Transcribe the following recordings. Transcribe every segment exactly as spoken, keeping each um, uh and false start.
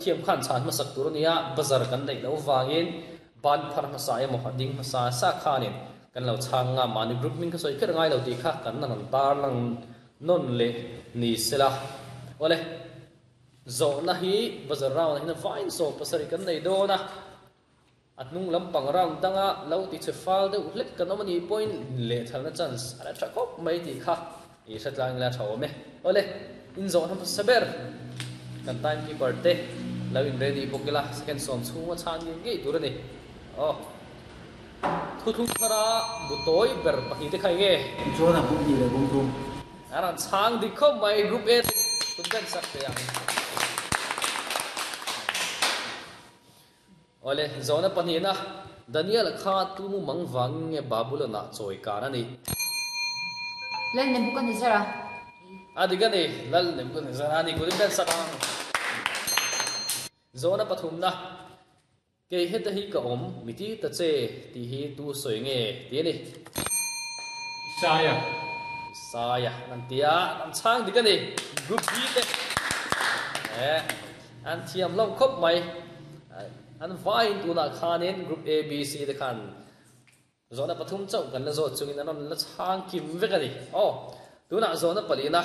Thiam khan chhan hmasak tur a nia, buzzer kan neih loh vangin ban phar hmasa emaw a ding hmasa sa khanin kan lo chhang nga, mahni group hming kha sawi kher ngai lo tih kha kan rawn tarlang nawn leh ni sela. Awle, zawhna hi buzzer round ah hian vain sawm pasarih kan nei dawn a, a hnung lampang round danga lo ti che fal deuh hlek kan awm a nih pawhin lehthalna chance a la tha khawp mai tih kha i hre tlang ila tha awm e. Awle, inzawhna hmasa ber kan timekeeper te lo in ready bawk ila, second sawm chhunga chhan ngei ngei tur a ni. Aw, thuthlung thara bu tawi ber pahnih te kha eng nge? Chuan a bum hnih leh bum thum. A rawn chhang dik khawp mai, Group A te kut ben sak thei ang. Awle, zawhna pahnihna, Daniel kha tu mu mang vangin nge Babylon-ah chawi kan a nih? Lal Nebuchadnezzar-a. A dik a ni, Lal Nebuchadnezzar-a a ni, kut in ben sak ang. Zawhna pathumna, Kei heta hi ka awm, mi ti ta che tih hi tu sawi nge ti a ni. Isaiah. Isaiah an ti a, an chhang dik a ni. Group B te eh an thiam hlauh khawp mai. An vaiin tunah khanin Group A, B, C te khan zawhna pathum chauh kan la zawt chungin an rawn la chhang kim vek a ni. Aw, tunah zawhna palina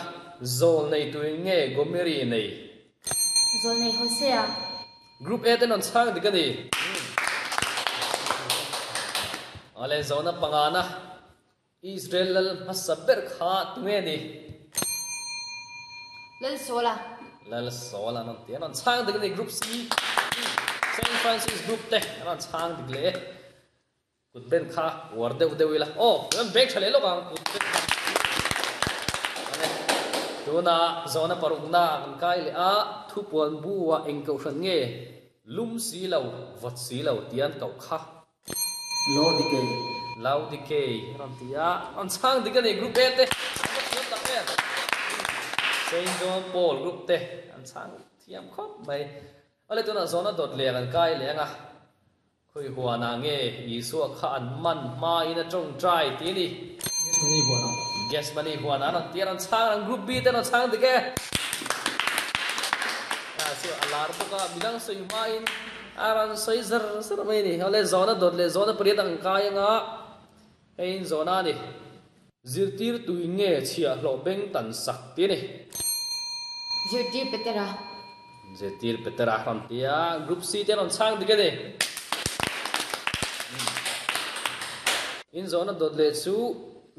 zawl nei tuin nge Gomeri nei? Zawl nei Hosea. Group A te rawn chhang dik a ni. Awle, zawhna pangana Israel lal hmasa ber kha tunge ni? Lal Saula. Lal Saula an rawn ti a, an rawn chhang dik a ni. Group C, Saint Francis Group te an rawn chhang dik leh e. Kut ben kha uar deuh deuh ila. Aw, kan beng tha leh lawk ang kut ben kha. Awle, tuna zawhna parukna kan kai leh a, thupuan bu-ah eng kohhran nge lum si lo, vawt si lo tih an koh kha? Laodikei. Laodikei a rawn ti a, rawn chhang dik a ni Group A te, an va thiam tak em. Saint John Paul Group te an chhang thiam khawp mai. Awle, tunah zawhna dawt leh kan kai leh ang a. Khawi huanah nge Isua kha an man hmain a tawngtai tih a ni. Gethsemane huanah. Gethsemane huanah an rawn ti a, rawn chhang ang Group B te rawn chhang dik e. A chu a lar bawk a, midang sawi hmain a rawn sawi zar zar mai a ni. Awle zawhna dawt leh zawhna pariat ang kai anga hei in zawhna a ni. Zirtirtui nge chhiahhlawh beng tan sak tih a ni. Zirtir Petera. Zirtir Petera rawn ti a, Group C te rawn chhang dik a ni. In zawhna dawt leh chu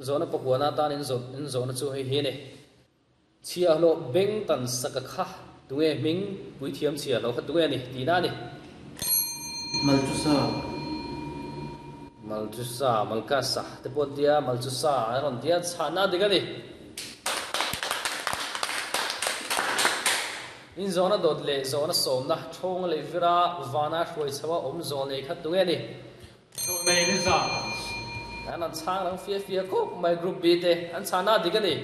zawhna pakuana atan in zawh in zawhna chu hei hi a ni. Chhiahhlawh beng tan sak a kha tunge hming puithiam chhiahhlawh kha tunge a ni tihna a ni. Malchusa. Malchusa, Malkasa te pawh an tia, Malchusa an rawn tia, chhahna dik a ni. In zawhna dawt leh zawhna sawmna thawnga leh vira vana hruai chho a awm zawl nei kha tunge a ni? Zawh nei ni za. An an chhang rang fia fia khawp mai Group B te an chhahna dik a ni.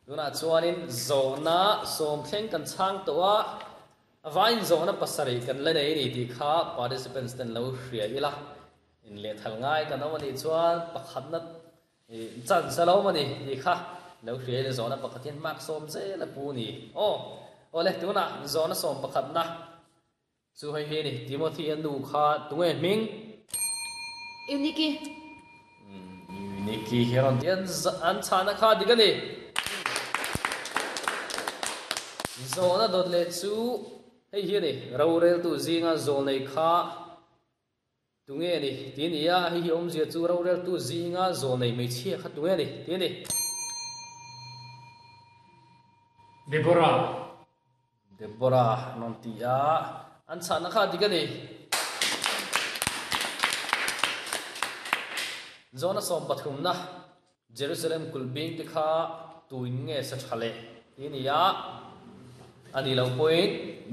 Tunah chuanin zawhna sawm thleng kan chhang tawh a, a vaiin zawhna pasarih kan la nei a ni tih kha participants ten lo hria ila. Inlehthal ngai kan awm a nih chuan pakhatna chance a lo awm a ni tih kha lo hria ila zawhna pakhat hian mark sawm zel a pu a ni. Aw, awle tunah zawhna sawm pakhatna chu hei hi a ni. Timothy a nu kha tunge hming? Euniki. Euniki hi a rawn ti a, an chhahna kha dik a ni. Zawhna dawt leh chu hei hi a ni. Roreltu zinga zawlnei kha tunge ni tih a ni a, hei hi awmzia chu roreltu zinga zawlnei hmeichhia kha tunge ni tih a ni. Deborah. Deborah an rawn ti a, an chhahna kha dik a ni. Zawhna sawm pathumna Jerusalem kulhbing te kha tuin nge sa tha leh tih a ni a, a nih loh pawhin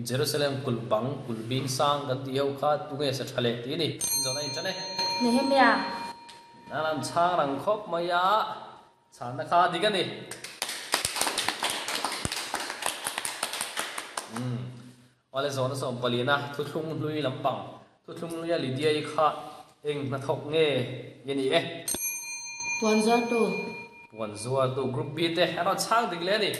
Jerusalem kulh bang kulhbing sang kan tih ho kha tunge sa tha leh tih a ni. Zawhna in tan e. Nehemia. An an chhang rang khawp mai a, chhanna kha dik a ni. Umm. Awle zawhna sawm paliana thuthlung hlui lampang thuthlung hluia Lydia-i kha eng hnathawk nge i ni e? Puan zuartu. Puan zuartu Group B te an rawn chhang dik leh a ni.